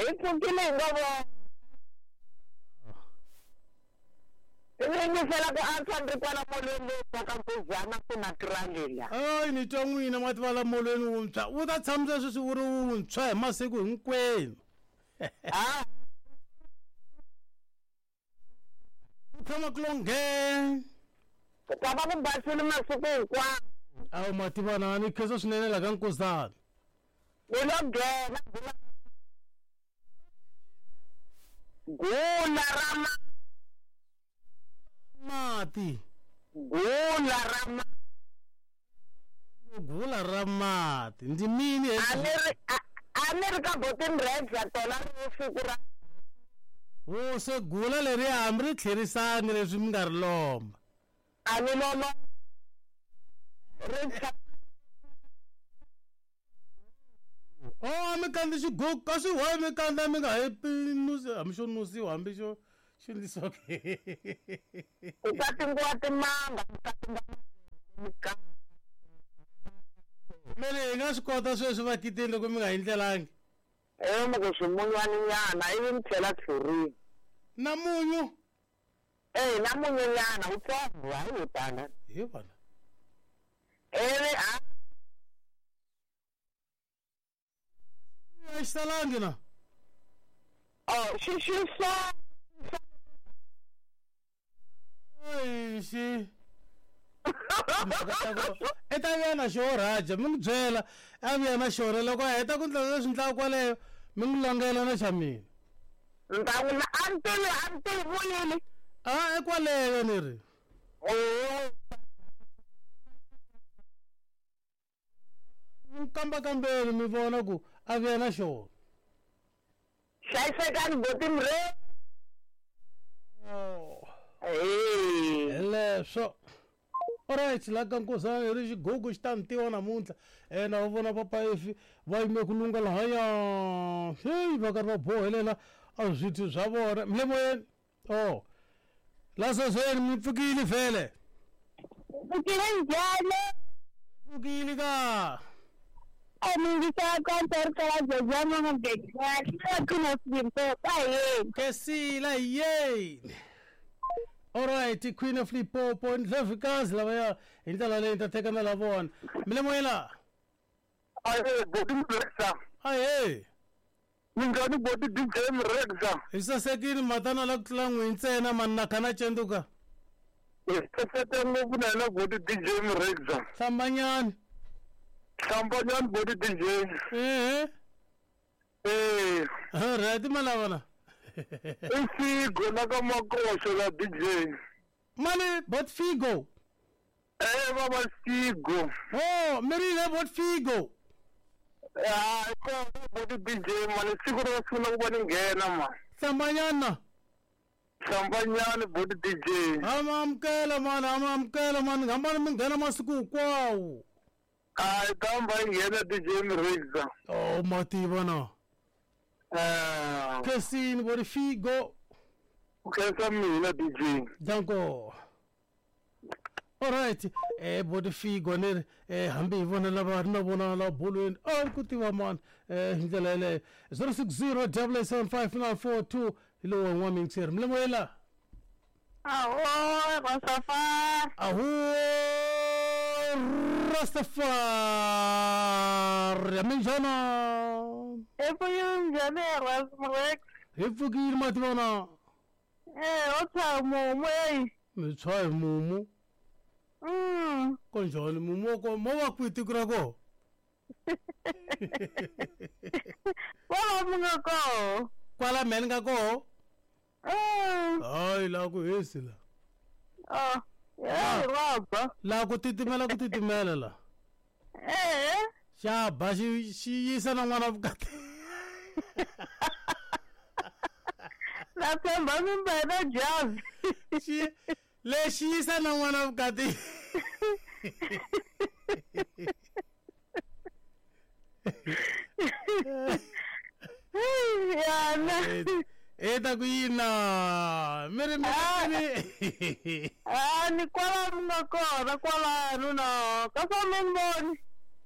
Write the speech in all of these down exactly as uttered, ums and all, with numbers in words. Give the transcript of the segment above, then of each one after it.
Hi pfukile hi nga vona. Yingisela ku antswa ni ri kwala molweni lowu ka Nkuzana ku na tirangela. Hayi ni twa n'wina ma tiva la molweni wuntshwa wu ta tshamisa sweswi wu ri wuntshwa hi masiku hinkwenu. Ah. Ku tshama ku longhe. Ku ta va ku basile masiku hinkwawo. Awu ma tiva na ni khensa swinene la ka Nkuzana. Ni lo nghena gula ra ma mati. Gula ra ma gula ra mati ndzi mini a ni ri a ni ri ka botin red ya tona ri siku ra wo se gula leri hambi ri tlherisani leswi mi nga ri lomba a ni lomba ri oh mi kandza xigugu kasi why mi kandza mi nga he nusi hambi xo nusiwa hambi xo xi ndlisiwa ke ku katingiwa timanga ku katinga mele hi nga swi kota sweswi vakiteni loko mi nga hi ndlelangi e mi ku swimunyani nyana ivi mi tlhela tlhurini na munyu e na munyu nyana wutsongo hayi wo tala hi vona ivi a a xi salangi na oh xi xi sa xi i ta vuya na xo raja mi n'wi byela a vuya na xona loko a heta ku ndla leswi ndlaka kwaleyo mi n'wi longela na xa mina ni ta n'wi a ni tivi a ni tivi vuyile a i kwaleyo ni ri mi kambakambeni mi vona ku a vuya na xona hlayisekani botini re hi leswo. Alright la ka Nkuzana hi ri xigugu xi ta ni tiva namuntlha um na va vona papa Efi va yime ku lunga lahaya heyi va karhi va bohelela a swithu swa vona mi le moyeni o la sesweni mi pfukile vhele pfukile njhani pfukile ka a mi yingisela konto ri kala Jejana na Gejana Queen of Limpopo ahee Kesila yeni. Alright Queen of Limpopo ndlevikazi lavaya hi ndlela leyi ni ta teka na la vona mi le moyeni la Ahe boti Mrexa ahee minjhani boti D J Mrexa hi sasekile matana la ku tlula n'wi ntsena mani na kha na cenduka hi saseke ngopfu na yena boti D J Mrexa hlambanyani hlambanyani boti D J ehe eh alright malavana i Figo la ka Makoxo la D J mani bot Figo eh baba Figo oh mi ri yini bot Figo ah ko boti D J mani siku ro sungula ku va ni nghena ma hlambanyana hlambanyani boti D J ama amukela mani ama amukela mani hambani mi nghena masiku hinkwawo a tamba yi nghena D J Mrexa oh ma tiva na eh Kesini boti Figo ku khensa mina D J danko. Alright eh boti Figo ni ri eh hambi hi vona lava ri na vona la bolweni a ku tiva mani eh hi ndlela yeleyo zero six zero double eight seven five nine four two hi lowu wa n'wamintsheri mi le moyeni la aho Rastafari aho Rastafari minjhana hi pfukile njhani Rasmrex hi pfukile ma tivona eh o tshaya mumu eyi mi tshwa hi mumu mm konjhani mumu wa ko mo va kwihi tiko ra koho kwala mi nga koho kwala mehe ni nga koho mm hayi laha ku hisi la oh hey raba laha ku titimela ku titimela la eh xa ba xi xi yisa na n'wana vukati na tshemba mi mbele jazi xi lexi yisa na n'wana vukati yana e ta ku yina mi ri mi a ni kwala mi nga kona kwalano na ka swa mi ni voni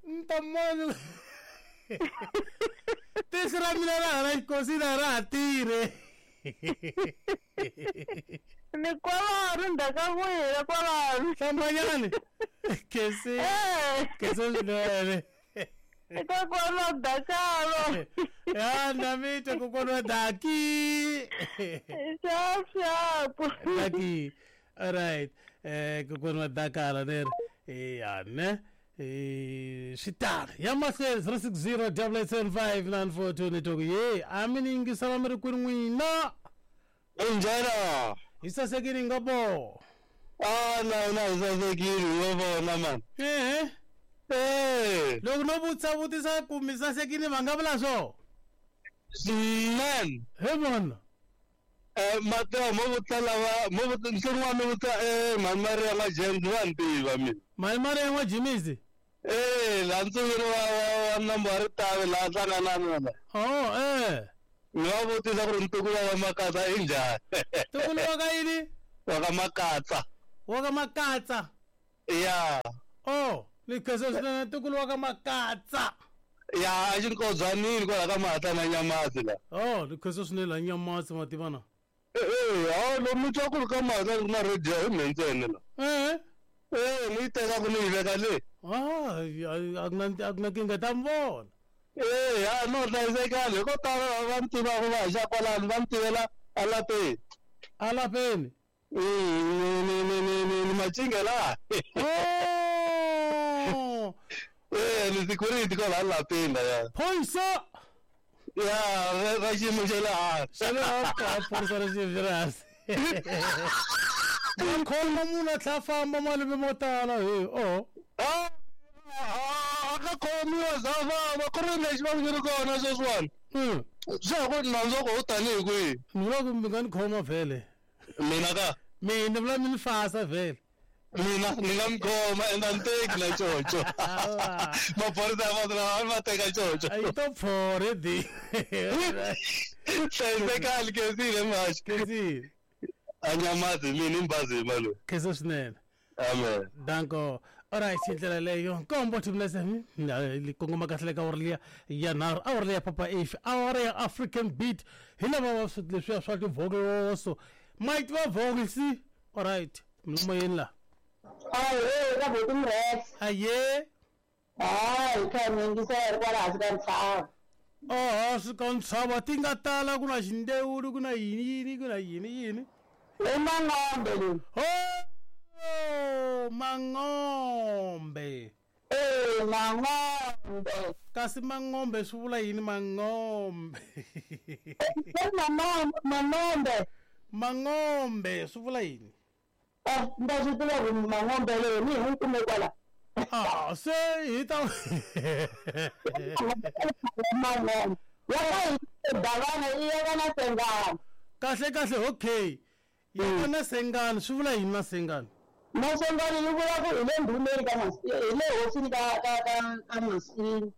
ni ta moni Tihlo ra mina ra hala xikosini a ra ha tirhe. Ni kwalano ndzhaku ka n'wina kwalano. Hlambanyani. Kesi. Kesi swinene. Eka kwala Dakalo. Ya na mita kokwana wa Daki. Sharp sharp. Daki. All right. Eh kokwana wa Dakala there. Eh ya ne. Eh switar. Ya mahlweni zero six zero double eight seven five nine four two ni toku. Ye, a mi ni yingisela mi ri kwini n'wina. Injena. Hi sasekile ngopfu. Ah na na hi sasekile yo vona man. Eh. Eh. Loko no vutisa vutisa ku mi sasekile va nga vula swo? Man. He vona. Eh Mateo mo vutisa lava mo vutisa nhlon'wana mi vutisa eh mhani Maria ma James va ni tiva mina. Mhani Maria ma James? Eh la ntsungeni wa wa nambu wa Ritavi laha hlanganani la. Oh eh. Ni va vutisa ku ri ntukulu wa Makatsa i njhani? Ntukulu wa ka yini? Wa ka Makatsa. Wa ka Makatsa? Ya. Oh, ni khensa swinene ntukulu wa ka Makatsa. Ya, a xinkodzanini kwala ka Mahatla na Nyamasi la. Oh, ni khensa swinene la Nyamasi ma tiva na. Eh eh, hawu lomu twa ku ri ka Mahatla ku na radio hi mina ntsena la. Eh. Eh, ni yi teka ku ni yi veka le. Ah, a ku na a ku na nkingha ta mi vona. Eh, ya no hlayisekani hi ko tala va mi tivaka va haxa kwalano va mi tivela alapeni. Alapeni? Ni ni ni ni ni ni macinga laha. Oh. Eh, ni security kwala alapeni la ya. Phorisa. Ya, ra xiyimo xa le hansi. Xa le hansi, phorisa ra xiyimo xa le hansi. Va khoma munhu a tlhela a famba malembe mo tala he. Oh. Ah. A ka khomiwa za famba ku ri lexi va ku ri kona sweswiwani. Mm. Swa ha ku nandzu wa koho tanihi kwihi? Ni vula ku mi nga ni khoma vhele. Mina ka? Mina ni vula mi ni fasa vhele. Mina ni nga mi khoma ende a ni teki na coco. Maphorisa ya vanhu lava a va teka coco. A yi to pfore di. Hlayisekani Khensile mhaxi. Khensile. A Nyamasi mina i Mbazima loyi. Khensa swinene. Amen. Danko. Alright, hi ndlela leyo nkombo timlese li kongoma kahle ka awara liya ya nharhu awara liya Papa F awara ya African Beat hi lava va swi leswiya swa tivhokoloso might va vokisi. Alright, mimoyeni la. Aye, ka buti Mrex. Aye. Hayi, kha ni yingisela ri kwala hansi ka ntshava. Oh, hansi ka ntshava ti nga tala ku na xindewuli ku na yini yini ku na yini yini. I Mangombe leyi. Oh, Mangombe. Eh, Mangombe. Kasi Mangombe swi vula yini Mangombe? Mangombe, Mangombe. Mangombe swi vula yini? Eh, nda swi tiva ku Mangombe leyi ni hi kume kwala. Ah, se hi ta Mangombe. Ya ka Davana i ya ka na Sengani. Kahle kahle okay. Ya ka na Sengani swi vula yini na Sengani? Masengani yi vula ku hi le ndhumeni ka Mas hi le hosini ka ka ka ka Masini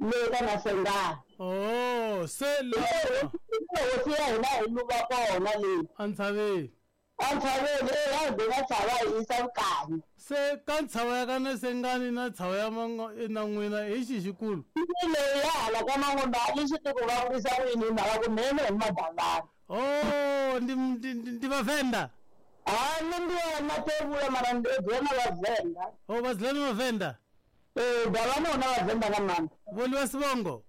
le ka Masengani. Oh, se le hosi ya hina hi luva kona leyi. Entshaveni. Entshaveni eh ya hi tshava hi yisa vukanyi. Se ka ntshava ya ka Nasengani na ntshava ya Mango na n'wina hi xihi xikulu? Leyi ya hala ka Mangombe a ni swi tivi ku va vurisa ku yini hi mhaka ku mhene hi Madavana. Oh, ndi ndi ndi Vavenda. Ah, ni ndi Mathebula mara ndi dzula Vhavenda. Oh, va dzula Vhavenda? Eh, Davana una Vhavenda nga maanḓa. Vho Sibongo?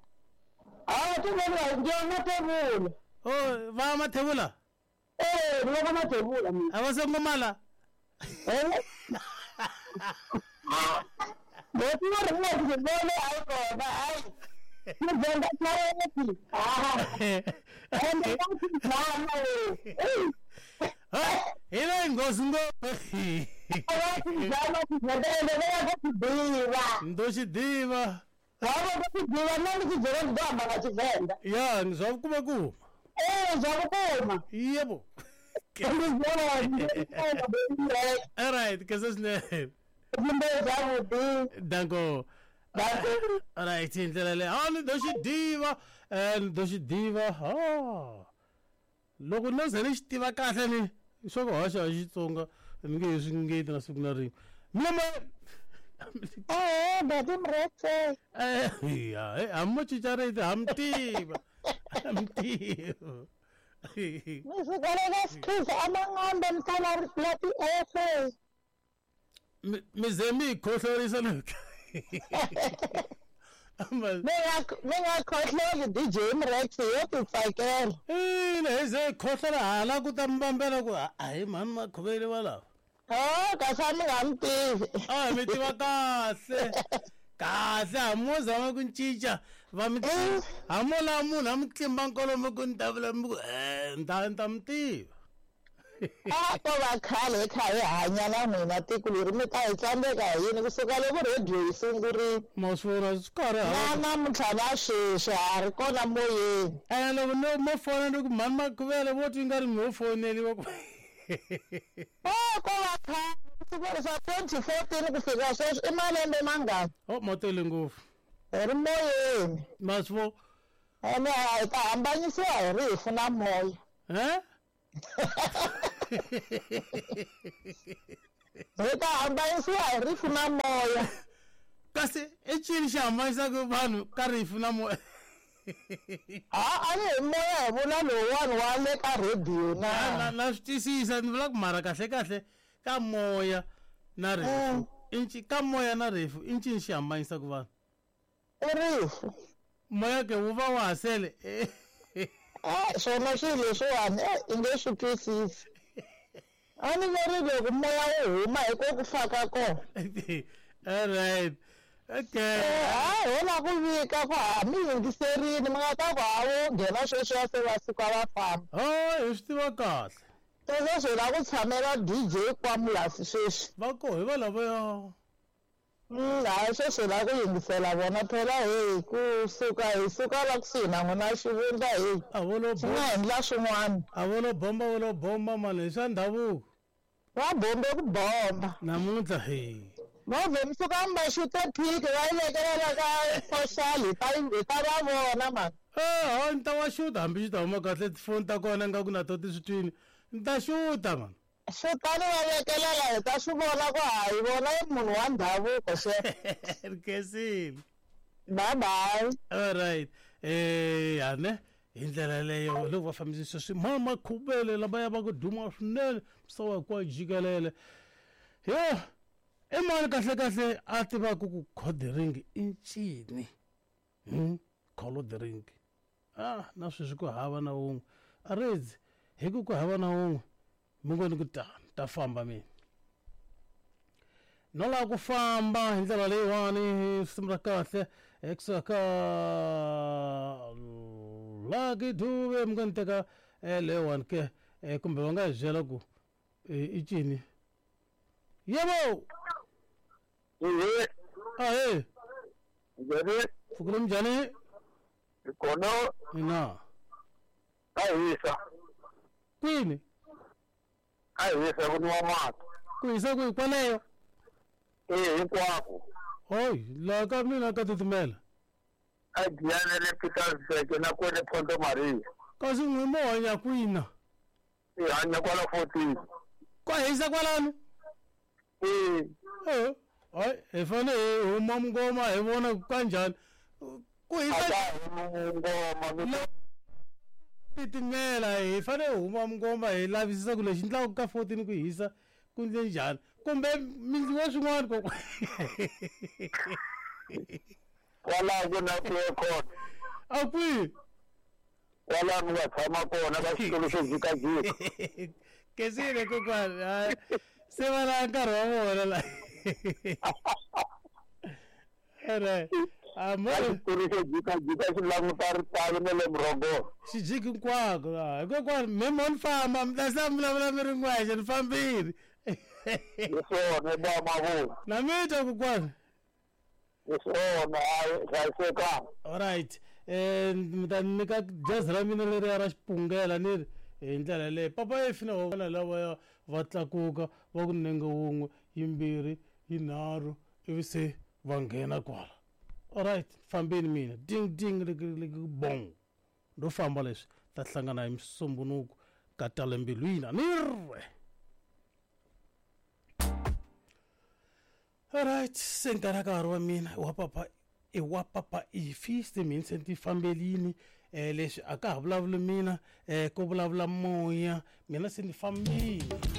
Ah, thi vhoniwa ndi Mathebula. Oh, va Mathebula? Eh, ndi va Mathebula mina. A va songo mala? Eh. Bo ti ri nga ti vone a yi kona ai. Ni venda tsareti. Ah. Ende va ti zama le. Ha, hi le nghozi ngopfu. Va ti zama ti venda ende va ya ku tiva. Ndo xi tiva. Va va ku tiva na ni xi byela ndi amba nga Tshivenda. Ya, ni swa vukuma kuma. Eh, swa vukuma. Yebo. All right, khensa swinene. Danko. All right, hi ndlela leyo. Ah, ni do xi tiva. Eh, ni do xi tiva. Ah. Loko no ze ni xi tiva kahle ni swo ku hoxa hi Xitsonga ni nge he swi ngeti na siku na rin'we. Mina Eh, bati Mrexe. Eh, ya, eh, amo chicharete, amtiva. Amtiva. Misukalela sikhiza amangombe msala lati efe. Mizemi khohlorisa lokho. Mina mina khohloli D J Mrexe yo tsakela. Eh, leze khohlola hala ku ta mbambela ku hayi mani makhuvele wala. Oh, kasi mi nga mi tivi. Ah, mi tiva kahle. Kahle amo zama ku cinca va mi amo la munhu a mi tlimba nkolomo ku ni ta vula mi ku eh nta nta mi tiva. A ko va khale kha hi hanya na n'wina tiko leri mi ta hi tsandzeka hi yini kusuka loko rediyo yi sungurile. Ma swi vona swi karhi na namuntlha na sweswi ha ri kona moyeni. Ene loko no mo fona ni ku mhani Makhuvele vo twi nga ri mi ho foneliwa ku Oh, ko va khale kusuka swa twenty fourteen ku fika sweswi i malembe mangani? Oh, ma tele ngopfu. Hi ri moyeni. Ma swi vo Ene hi ta hambanyisiwa hi rifu na moya. Eh? Hi ta hambanyisiwa hi rifu na moya. Kasi i cini xi hambanyisaka vanhu ka rifu na moya? Ha, a ni hi moya hi vula lowuwani wa le ka rediyo na. Na na swi twisisa ni vula ku mara kahle kahle ka moya na rifu. Inci ka moya na rifu i ncini xi hambanyisaka vanhu? I rifu. Moya ke wu va wa ha sele. Eh, swona swilo leswiwani eh i nge swi twisisi. A ni veri loko moya wu huma hi ko ku fa ka kona. All right. Okay. Eh, ho la ku vika ku ha mi yingiserini mi nga ta ku ha wo nghena sweswiya se va suka va famba. Oh, hi swi tiva kahle. Sweswo hi lava ku tshamela D J Kwamulasi sweswi. Va koho hi va lavaya. Mm, hayi sweswi hi lava ku yingisela vona phela hey kusuka hi suka la kusuhi na n'wina xivundla hey. A vo lo Swi nga endla swin'wana. A vo lo bomba vo lo bomba mani hi swa ndhavuko. Va bombe ku bomba. Namuntlha hey. Va vhe mi suka mi va xuta phiki va yi vekelela ka social hi ta hi ta va vona mani. Eh, ha ni ta wa xuta hambi xi ta huma kahle tifoni ta kona ingaku na to ti swi twini. Ni ta xuta mani. Xutani va vekelela hi ta swi vona ku ha hi vona i munhu wa ndhavuko xe. Rikhensile. Bye bye. All right. Eh, ane hi ndlela leyo loko va fambisisa sweswi ma Makhuvele lavaya va ku duma swinene misava hinkwayo jikelele. Yo, i mani kahle kahle a tivaka ku codering i ncini? Hmm, codering. Ah, na sweswi ku hava na wun'we. A redzi hi ku ku hava na wun'we. Mi ngo ni ku ta ta famba mina. No lava ku famba hi ndlela leyiwani risimu ra kahle ekusuka ka Lucky Dube mi ngo ni teka leyiwani ke kumbe va nga hi byela ku i cini. Yebo. Ehe. Ahee. Njhani? Pfukile minjhani? Hi kona. Ina. A hisa. Kwini? A hisa ku nwa mati. Ku hisa kwihi kwaleyo? Eh, hinkwako. Hoyi, laha ka mina ka titimela. A Giyani le Pietersburg na kwele Ponto Maria. Kasi n'wi mo hanya kwina? Hi hanya kwala fourteen. Kwa hisa kwalano? Eh. Eh, hayi, hi fanele hi huma mungoma hi vona ku kanjhani. Ku hisa mungoma mi titimela hi fanele hi huma mungoma hi lavisisa ku lexi endlaka ka fourteen ku hisa ku endle njhani kumbe mi ndliwa swin'wana kokwana. Kwalaho ku na aircon. A kwihi? Kwalaho mi nga tshama kona ka xitulu xo jikajika. Kesile kokwana, se va la nkarhi wa vona la. Alright. Amo xitulu xo jikajika xi languta ritavi na le murhongolo. Xi jiki hinkwako la. Kokwana me mo ni famba mi ta se mi vulavula mi ri n'wexe ni fambile. Hi swona ba mavula. Na mi twa kokwana. Hi swona hayi hlayisekanga. Alright. Eh mi ta nyika jazi ra mina leriya ra xipungela ni ri hi ndlela yaleyo. Papa Efi na vona lavaya va tlakuka va ku nenge wun'we yimbirhi yinharhu ivi se va nghena kwala. Alright, fambeni mina. Ding ding lik bong. Ndo famba leswi ta hlangana hi Musumbunuko ka tale mbilwini. Ni ri. Alright, se nkarhi ka ha ri wa mina wa papa i wa papa ifi se mina se ni fambelini um leswi a ka ha vulavuli mina um ko vulavula moya mina se ni fambile.